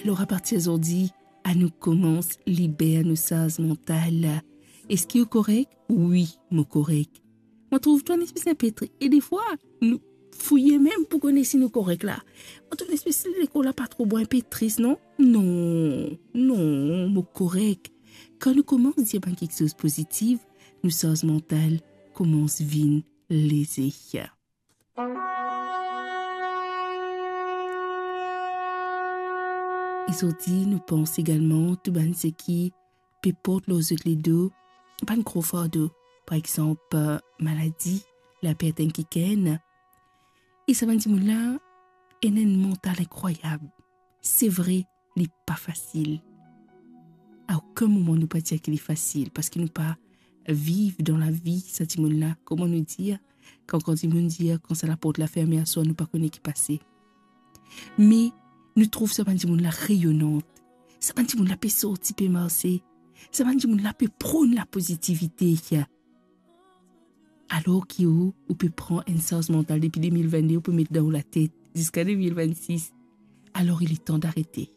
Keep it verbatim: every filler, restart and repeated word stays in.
Alor, apartir zordi, anou koumans liber nou sarz mantal. Eski ou korek? Wi, mo korek. Mo trouv twa enn espes inpe tri-, e defwa, nou fouye mem pou kone si nou korek la. Mo trouv enn espes lekor la pa tro bon, inpe tris, non? Non, non, mo korek. Kan nou koumans dir bann kiksoz pozitif, nou sarz mantal koumans vinn leze. E zordi, nou pans egalman tou bann seki pe port lor zot ledo bann gro fardo, par exanp, maladi, lapert enn kikenn. E sa bann dimoun la ena enn mantal inkrwayab. Se vre, li pa fasil. A okenn moman nou pa dir ki li fasil, parski nou pa viv dan lavi sa dimoun la. Kouma nou dir, kan, kan dimoun dir, kan sa laport la ferme aswar, nou pa kone ki pase. Me nou trouv sa bann dimoun la reyonant. Sa bann dimoun la pe sorti, pe marse. Sa bann dimoun la pe pronn lapozitivite. Alor ki ou, ou pe pran enn sarz mantal depi de mil vennde, ou pe met dan ou latet ziska de mil vennsis, alor il est temps d'arrêter.